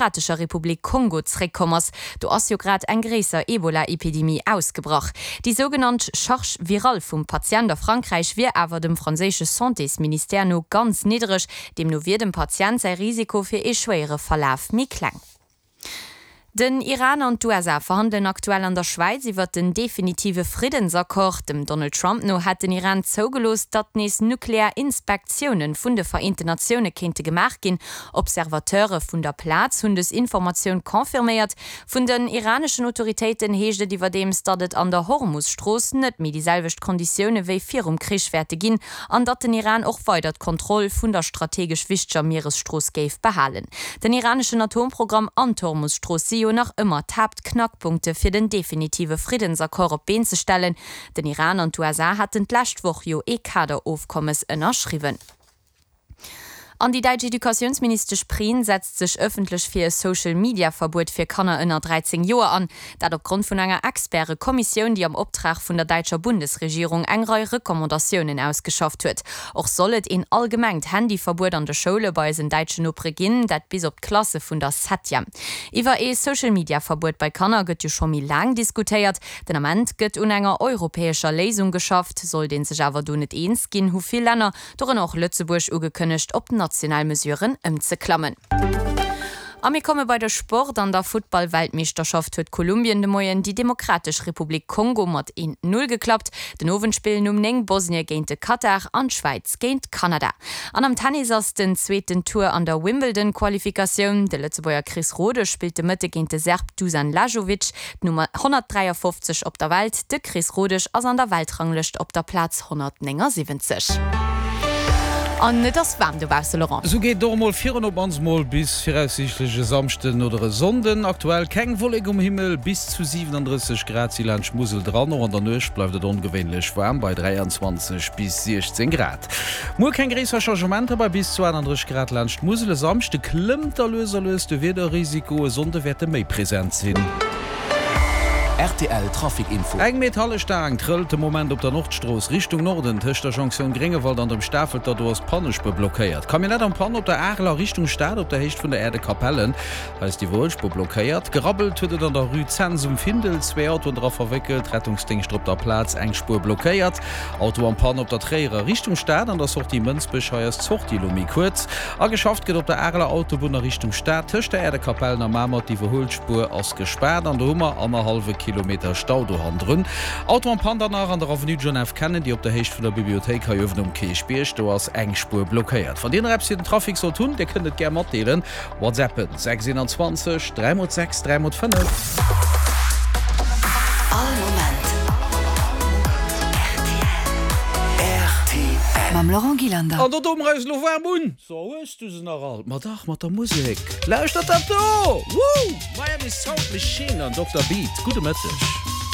Demokratescher Republik Kongo zréckkomm ass. Do ass jo grad eng gréisser Ebola-Epidemie ausgebrach. Déi sougenannt Charge virale vum Patient a Frankräich wier awer dem franséische Santésministère no ganz niddereg. Deemno wier dem Patient säi Risiko fir ee schwéiere Verlaf méi kleng. Den Iran an d'USA verhandelen aktuell an der Schwäiz iwwert den definitive Friddensaccord. Dem Donald Trump no hätt den Iran zougelooss, datt nees nuklear Inspektioune vun de Vereenten Natioune kéinte gemaach ginn. Observateure vun der Plaz hunn dës Informatioun confirméiert. Vun den iraneschen Autoritéiten heescht et iwwerdeems, datt et an der Hormus-Strooss net méi déi selwecht Konditioune wéi virum Krich wäerte ginn an datt den Iran och weider d'Kontroll vun der strategesch wichteger Mieresstrooss géif behalen. Den iraneschen Atomprogramm an d'Hormus-Strooss si jo nach ëmmer d'Haaptknackpunkte fir den definitive Friddensaccord op d'Been ze stellen. Den Iran an d'USA haten d'lescht Woch jo ee Kaderofkommes ënnerschriwwen. An déi däitsch Educatiounsministesch Prien setzt sech ëffentlech fir e Social-Media-Verbuet fir Kanner ënner 13 Joer an. Dat op Grond vun enger Experte-Kommissioun, déi am Optrag vun der däitscher Bundesregierung eng Rei Recommandatiounen ausgeschafft huet. Och soll et een allgemengt Handyverbuet an de Schoule bei eisen däitschen Nopere ginn, dat bis op d'Klasse vun der Septième. Iwwer ee Social-Media-Verbuet bei Kanner gëtt jo scho méi laang diskutéiert. Den Ament gëtt un enger europäescher Léisung geschafft. Sollt ee sech awer do net eens ginn, hu vill Länner dorënner och Lëtzebuerg, ugekënnegt, op national Mesuren ëmzeklammen. A mir komme bei de Sport. An der Futtball-Weltmeeschterschaft huet Kolumbien de Moien déi Demokratesch Republik Kongo mat 1, 0 geklappt. Den Owend spillen um 9 Bosnie géint de Katar an d'Schwäiz géint Kanada. An am Tennis ass den zweeten Tour an der Wimbledon-Qualifikatioun. De Lëtzebuerger Chris Rodesch spillt de Mëtte géint de Serb Dusan Lajovic. D'Nummer 153 op der Welt, de Chris Rodesch, ass an der Weltranglëscht op der Plaz 179. An et ass waarm dobausse, Laurent. Esou geet et och emol virun, op mannst mol bis viraussiichtlech e Samschden oder e Sonnden. Aktuell keng Wollek um Himmel, bis zu 37 Grad si laanscht d'Musel dran. Och an der Nuecht bleift et ongewéinlech waarm bei 23 bis 16 Grad. Muer keng gréisser Changementer bei bis zu 38 Grad laanscht d'Musel. E Samschde klëmmt da lues a lues de Wiederrisiko, e Sonnde wäert e méi present sinn. Rtl Trafic Info. Eng Metallestaang trëllt de Moment op der Nordstrooss Richtung Norden tëscht der Jonktioun Gréngewald an dem Stafelter. Do ass d'Pannespuer blockéiert. Camionnette en panne op der Arel a Richtung Stad op der Héicht vun der Äerdekapellen. Hei ass d'Iwwerhuelspuer blockéiert. Gerabbelt huet et an der Rue Cents um Findel. Zwee Autoen dra verwéckelt. Rettungsdéngschter op der Plaz, eng Spuer blockéiert. Auto en panne op der Tréierer Richtung Stad an der Sortie Mënsbech. Hei ass d'Sortie elo méi kuerz. A geschafft gëtt op der Areler Autobunn a Richtung Stad tëscht der Äerdekapellen a Mamer. D'Iwwerhuelspuer ass gespaart an do hu mer annerhallwe Kilometer Stau do hannendrun. Auto en panne dann nach an der Avenue John F. Kennedy op der Héicht vun der Bibliothéik hei uewen um Kierchbierg. Do ass eng Spuer blockéiert. Wann Dir nach eppes fir den Trafic sollt hunn, Dir kënnt et gär matdeelen. WhatsAppen 6 21 3 mol 6 3 mol 5. All Moment rtl. Mam Laurent Gillander. An do doe mer eis elo waarm un. So, hues du se nach all? Ma dach, mat der Musek. Lauschtert dat do! Woo! Miami Sound Machine an Dokter Beat. Gudde Mëtteg.